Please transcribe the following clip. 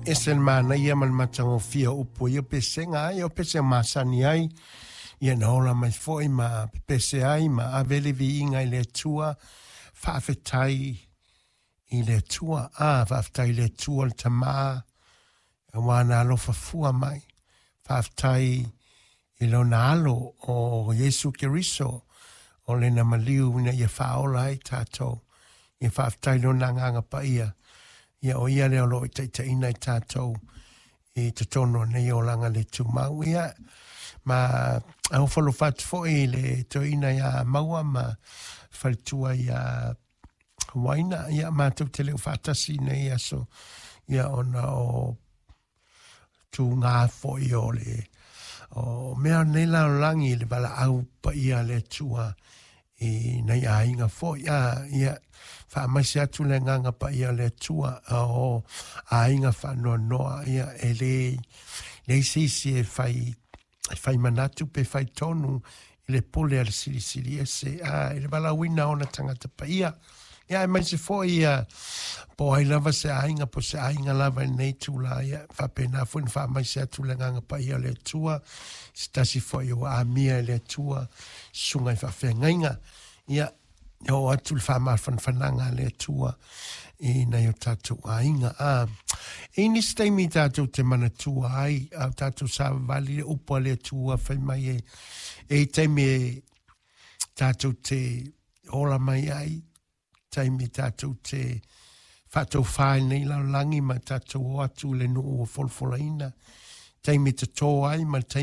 Ese le manaia ma le matagofie o upu o ia pesega ai, o pesega masani ai, ia na ola mai foi ma pepese ai ma ave le viiga i le Atua, faafetai i le Atua. A, faafetai i le Atua le Tamā, auā na alofa fua mai. Faafetai i lona alo o Iesu Keriso, o lena maliu ina ia faaola ai tatou. Ia faafetai i lona agaga paia, ia o ia lea o lo o taitaiina i tatou i totonu o nei olaga le tumau. Ia, ma alofa atu foi i le toeaina ia Maua ma faletua ia Waina, ia matou te le o faatasi i nei aso, ia ona o tūgā foi o le o mea o nei lalolagi i le valaau paia a le Atua i nai aiga foi. A, ia, faamaise atu le agaga paia o le Atua o aiga faanoanoa, ia, e le leai se isi e fai e fai manatu pe fai tonu i le pule a le Silisili Ese, a, i le valaauina o ona tagata paia. Ia, aemaise foi ia, po o ai lava se aiga, po o se aiga lava i lenei itula, ia, faapena foi ona faamaise atu le agaga paia o le Atua, se tasi foi ua amia e le Atua, susuga i faafeagaiga. Ia, e oo atu le faamafanafanaga a le Atua i nai o tatou aiga. A, e i nisi taimi tatou te manatua ai, a o tatou savavali le upu a le Atua fai mai e, e i taimi e tatou te ola mai ai, taimi tatou te faataufa i lenei lalolagi ma tatou o atu i le nuu ua folafolaina, taimi e toto ai ma le taimi